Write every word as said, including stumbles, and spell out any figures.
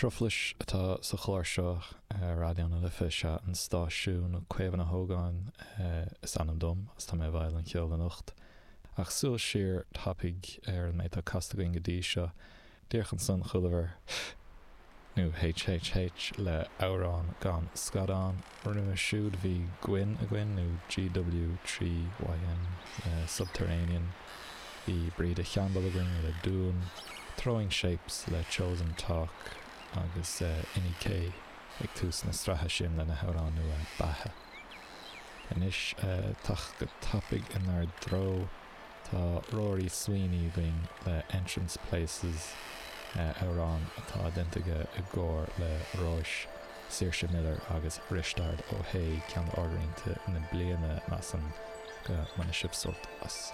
Truflais atá sa chlár seo ar Raidió na Life is ea an stáisiún Caomhán Ó hÓgáin is ainm dom is tá mé i bhfeighil an cheoil anocht. Ach súil siar tapaidh ar an méid atá casta againn go dtí seo díreach ansan chualamar nó HHH le amhrán gan scadán roimhe siúd bhí Gwyn againn nó GW trí YN le Subterranean bhí Bríde Cheanbal againn le Dún Throwing Shapes le Chosen Talk agus uh, Inni K ag tús na sraithe sin lena hamhrán nua Beatha. Anois uh, teacht go tapaidh inár dtreo tá Rory Sweeney againn le Entrance Places uh, amhrán atá déanta aige i gcomhar le Róis Saoirse Miller agus Risteard Ó hAodha ceann d'ardrianta na bliana measaim go mbainfidh sibh sult as.